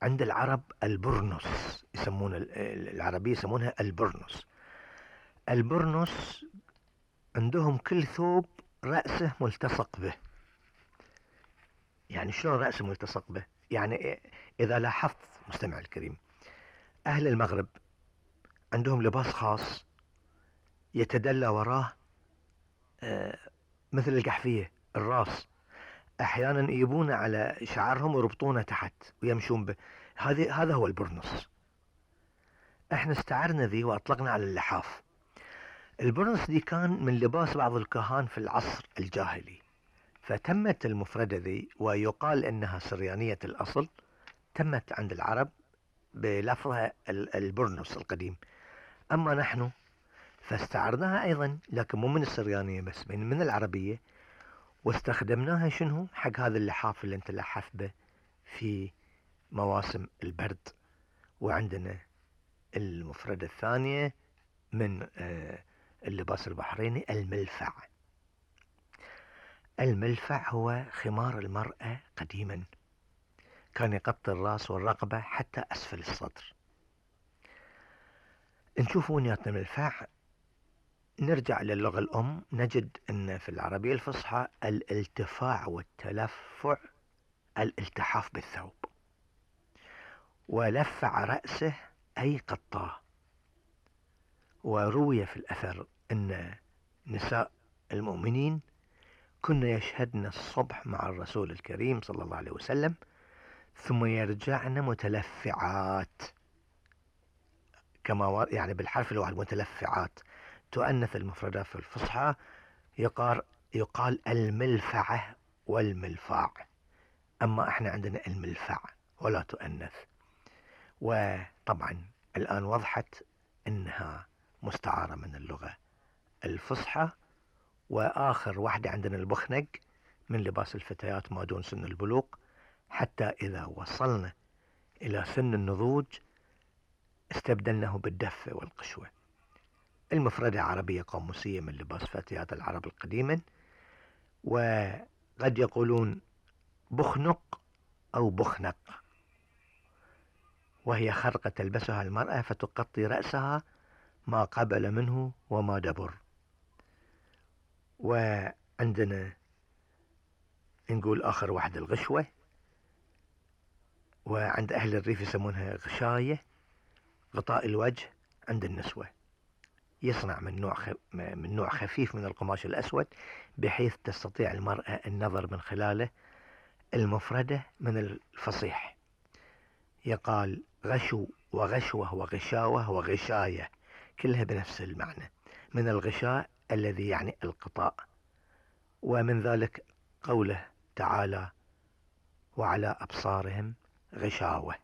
عند العرب البرنس، يسمون العربية يسمونها البرنس. البرنس عندهم كل ثوب رأسه ملتصق به. يعني شلون رأسه ملتصق به؟ يعني إذا لاحظت مستمع الكريم، أهل المغرب عندهم لباس خاص يتدلى وراه مثل القحفية الراس، أحيانا يجيبونه على شعرهم ويربطونه تحت ويمشون به. هذا هو البرنس. احنا استعرنا ذي واطلقنا على اللحاف. البرنس دي كان من لباس بعض الكهان في العصر الجاهلي، فتمت المفردة ذي ويقال انها سريانية الاصل، تمت عند العرب بلفظها البرنس القديم. اما نحن فاستعرناها ايضا، لكن مو من السريانية بس، من العربية، واستخدمناها شنو حق هذا اللحاف اللي انت لحف به في مواسم البرد. وعندنا المفردة الثانية من اللباس البحريني الملفع. الملفع هو خمار المرأة قديما، كان يغطي الراس والرقبة حتى أسفل الصدر. نشوف وينياتنا الملفع، نرجع للغة الأم نجد أن في العربية الفصحى الالتفاع والتلفع الالتحاف بالثوب، ولفع رأسه أي قطاه. وروي في الأثر أن نساء المؤمنين كن يشهدن الصبح مع الرسول الكريم صلى الله عليه وسلم ثم يرجعن متلفعات، كما يعني بالحرف الواحد متلفعات. تؤنث المفردات في الفصحى، يقال الملفعة والملفاع، أما احنا عندنا الملفع ولا تؤنث. وطبعا الآن وضحت أنها مستعارة من اللغة الفصحى. وآخر واحدة عندنا البخنق، من لباس الفتيات ما دون سن البلوغ، حتى إذا وصلنا إلى سن النضوج استبدلناه بالدفة والقشوة. المفردة عربية قاموسية من لباس فتيات العرب القديمة، وقد يقولون بخنق أو بخنق، وهي خرقة تلبسها المرأة فتغطي رأسها ما قبل منه وما دبر. وعندنا نقول آخر واحد الغشوة، وعند أهل الريف يسمونها غشاية، غطاء الوجه عند النسوة. يصنع من نوع خفيف من القماش الأسود بحيث تستطيع المرأة النظر من خلاله. المفردة من الفصيح، يقال غشو وغشوة وغشاوة وغشاية، كلها بنفس المعنى، من الغشاء الذي يعني القطاء. ومن ذلك قوله تعالى وعلى أبصارهم غشاوة.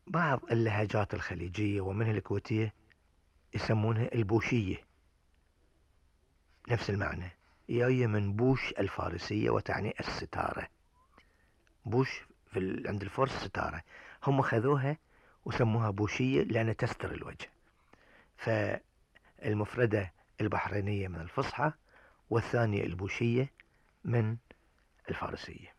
بعض اللهجات الخليجية ومنها الكويتية يسمونها البوشية، نفس المعنى، جاية من بوش الفارسية وتعني الستارة. بوش عند الفرس ستارة، هم خذوها وسموها بوشية لأنها تستر الوجه. فالمفردة البحرينية من الفصحى، والثانية البوشية من الفارسية.